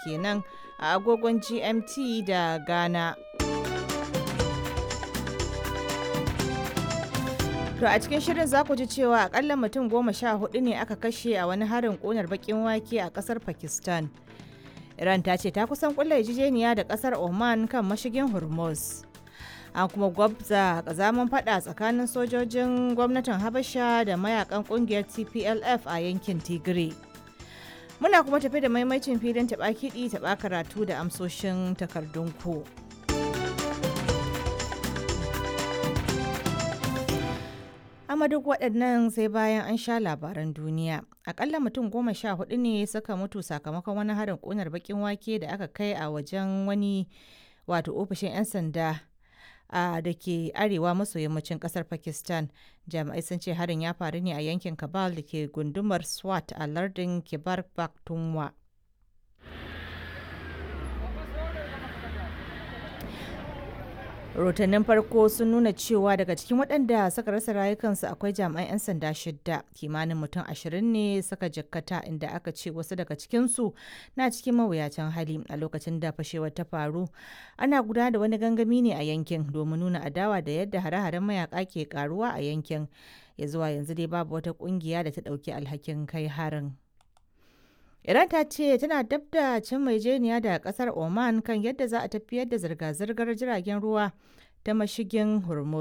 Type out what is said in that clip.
kenan a agogon GMT da Ghana. To a cikin shirin za ku ji cewa akalla mutum 14 ne aka kashe a wani harin ƙunar bakin wake a ƙasar Pakistan. Iran ta ce ta kusan kulla yarjejeniya da ƙasar Oman kan mashigin Hormuz. An kuma gwabza kazaman fada tsakanin sojojin gwamnatin Habasha da mayakan kungiyar TPLF a yankin Tigray. Muna kuma tafi da maimacin filin taɓa kiɗi taɓa karatu da amsoshin takardun ku. Amma duk waɗannan sai bayan an sha labaran duniya. Akalla mutum 14 ne suka mutu sakamakon wani harin ƙunar baƙin wake da aka kai a wajen wani wato ofishin 'yan sanda a da ke arewa maso yammacin kasar Pakistan. Jami'ai sun ce harin ya faru ne a yankin Kabal da ke gundumar Swat a lardin Kibar Pakhtunkhwa. Rahotannin farko sun nuna cewa daga cikin waɗanda suka rasa rayukansu akwai jami'an 'yan sanda shidda, kimanin mutum 20 ne suka jikkata, inda aka ce wasu daga cikinsu na cikin mawuyacin hali. A lokacin da fashewar ta faru, ana gudanar da wani gangami ne a yankin domin nuna adawa da yadda hare-haren mayaka ke karuwa a yankin. Ya zuwa yanzu dai babu wata kungiya da ta ɗauki alhakin kai harin. Iran ta ce tana dab da cin maijeniya da kasar Oman kan yadda za a tafiyar da zirga-zirgar jiragen ruwa ta mashigin Hormuz.